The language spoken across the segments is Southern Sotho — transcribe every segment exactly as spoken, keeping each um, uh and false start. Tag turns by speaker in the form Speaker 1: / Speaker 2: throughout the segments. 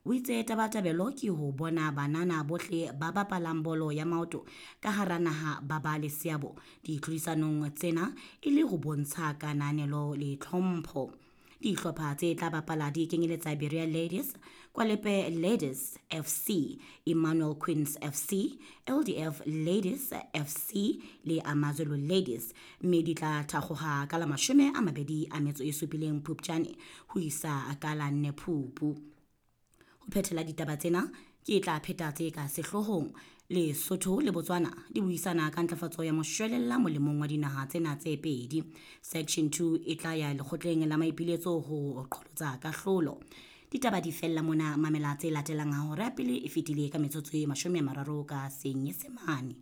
Speaker 1: O itse tabatabelo ke ho bona banana bohle ba bapalang bolo ya maoto ka hara naha ba ba le seabo ditlhodisanong tsena e le ho bontsha kananelo le tlhompho. Dihlopha tse tla bapala di kenyeletsa Berea Ladies, Kwalepe Ladies F C, Emmanuel Queens F C, L D F Ladies F C le Amazulu Ladies, mme di tla thakgoha ka la mashome a mabedi a metso e supileng Phupjane ho isa ka la nne Phupu. Ho phethela ditaba tsena ke tla pheta tse ka sehloohong. Lesotho le Botswana di buisana ka ntlafatso ya moshwelella molemong wa dinaha tsena tse pedi. Section two e tla ya lekgotleng la maipiletso ho qholotsa kahlolo. Ditaba di fella mona. Mamela tse latelang ha hora ya pele e fetile ka metsotso e mashome a mararo ka Senyesemane.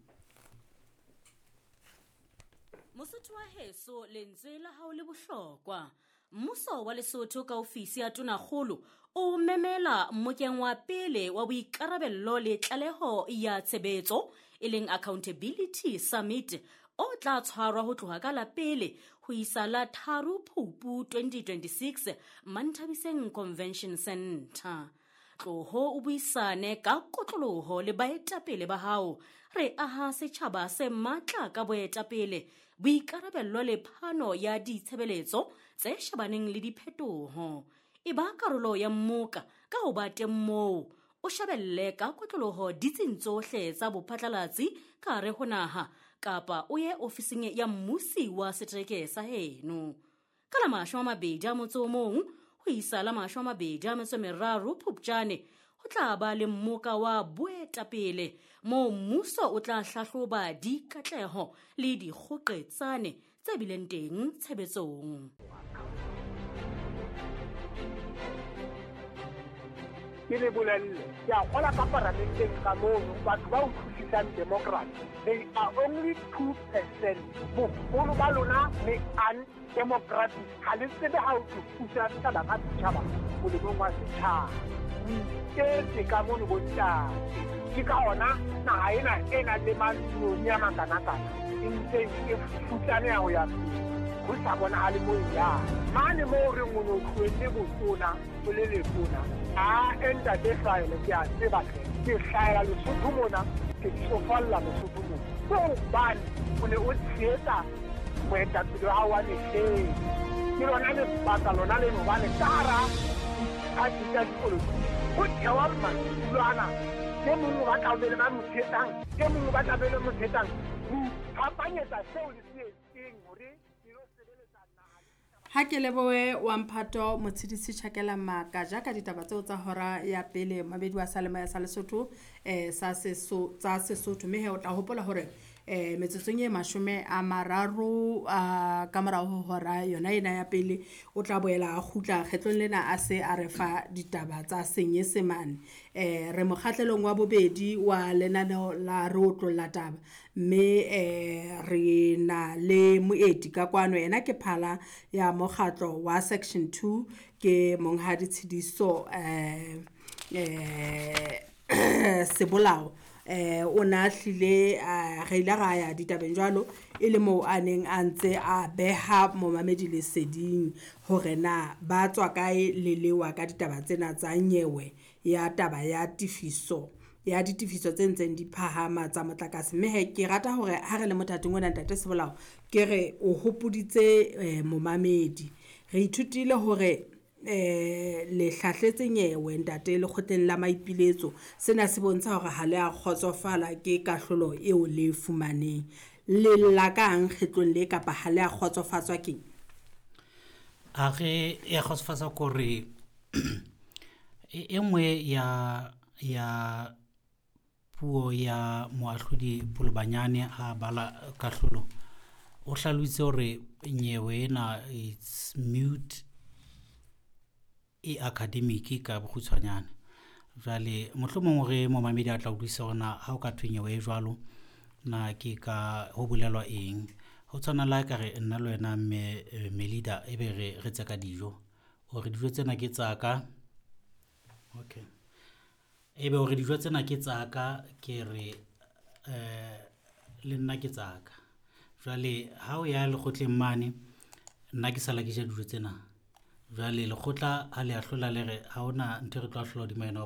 Speaker 2: Mosotho wa heso, lentswe la hao le bohlokwa. Mmuso wa Lesotho ka ofisi ya Tonakgolo o memela mmokeng wa pele wa boikarabello le tlaleho ya tshebetso, e leng Accountability Summit, o tla tshwarwa ho tloha ka la pele ho isa la tharo Phupu twenty twenty-six Manthabiseng Convention Center. Tloho o buisane ka kotloloho le baetapele ba hao. Re aha setjhaba se matla ka boetapele, boikarabello le phano ya ditshebeletso tse shebaneng le diphetoho. E ba karolo ya mmoka ka ho ba teng moo, o shebelle ka kotloloho ditsing tsohle tsa bophatlalatsi ka hare ho naha, kapa o ye ofising ya mmusi wa setereke sa heno. Ka la mashome a mabedi a motso o mong ho isa la mashome a mabedi a metso e meraro Phupjane ho tla ba le mmoka wa boetapele moo mmuso o tla hlahloba dikatleho le dikgoqetsane tse bileng teng tshebetsong.
Speaker 3: Ke le bolelle, ke a kgola ka paramenteng ka mono batho ba utlwisisang democracy, they are only two percent. Boholo ba lona le undemocratic, ha le tsebe ha o tlo pusa setjhaba ka setjhaba molemong wa setjhaba. O iketse ka mono bontate, ke ka ona naha ena e nang le mantsione a makanakana e ntseng e futsaneha ho ya pele, ho sa bonahale mo e yang mane moo re o no tlohelle botona o le letona. A ntate Hlaele, ke a tseba hle, ke hlahela Lesotho mona, ke tsofalla Lesotho mona, ke hobane o ne o tshehetsa moetapele wa hao wa mehleng. Ke lona lebaka lona leno, hobane ka hara diphathi tsa dipolotiki ho thewa madulo ana, e mong o batla ho be le ba mo tshehetsang, e mong o batla be le mo tshehetsang, ho iphapanyetsa seo le se etseng hore le lo sebeletsa naha le.
Speaker 4: Ha ke lebohe wa mphato Motshidisi Tjhakela Makaja ka ditaba tseo tsa hora ya pele, mabedi wa Salemoya sa Lesotho eh sa Seso tsa Sesotho. Mme he o tla hopola hore eh metsotsong e mashome a mararo a ka morao ho hora yona ena ya pele o tla boela a kgutla, kgetlong lena a se a re fa ditaba tsa Senyesemane. eh re mokgahlelong wa bobedi wa lenaneo la Re Otlolla Taba, mme eh re na le moeti ka kwano. Yena ke phala ya mokgatlo wa Section two, ke Monghadi Tshidiso eh eh Sebolao. eh o na hlile re ile ra ya ditabeng jwalo e le moo a neng a ntse a beha momamedi leseding hore na ba tswa kae le lewa ka ditaba tsena tsa nyewe ya taba ya tifiso ya ditefiso tse ntseng di phahama tsa motlakase. Mme he ke rata hore ha re le mothating ona, ntate Sebolao, ke re o hopoditse eh, momamedi, re ithutile hore eh le hlahletse nyewe ntate lekgotleng la maipiletso. Sena se bontsha hore ha le a kgotsofala ke kahlolo eo le e fumaneng. Le lla kang kgetlong le, kapa ha le a kgotsofatswa keng?
Speaker 5: A re ya kgotsofatsa kore e e nngwe ya ya puo ya moahlodi Polobanyane ha bala kahlolo, o hlalositse hore nyewe ena it's mute, e academic ka bokgutshwanyane. Jwale mohlomong hore momamedi a tla utlwisisa hore na ha o ka thwe nyewe e jwalo na ke ka ho bolelwa eng. Ho tshwana le ha ekare nna le wena mme eh, Melida, ebe re re tseka dijo hore dijo tsena ke tsa ka, okay, ebe hore dijo tsena ke tsa ka, ke re eh le nna ke tsa ka. Jwale ha o ya lekgotleng mane, nna ke sala ke ja dijo tsena. Jwale lekgotla ha le ahlola le re ha hona ntho e re tlo ahlola hodima yona.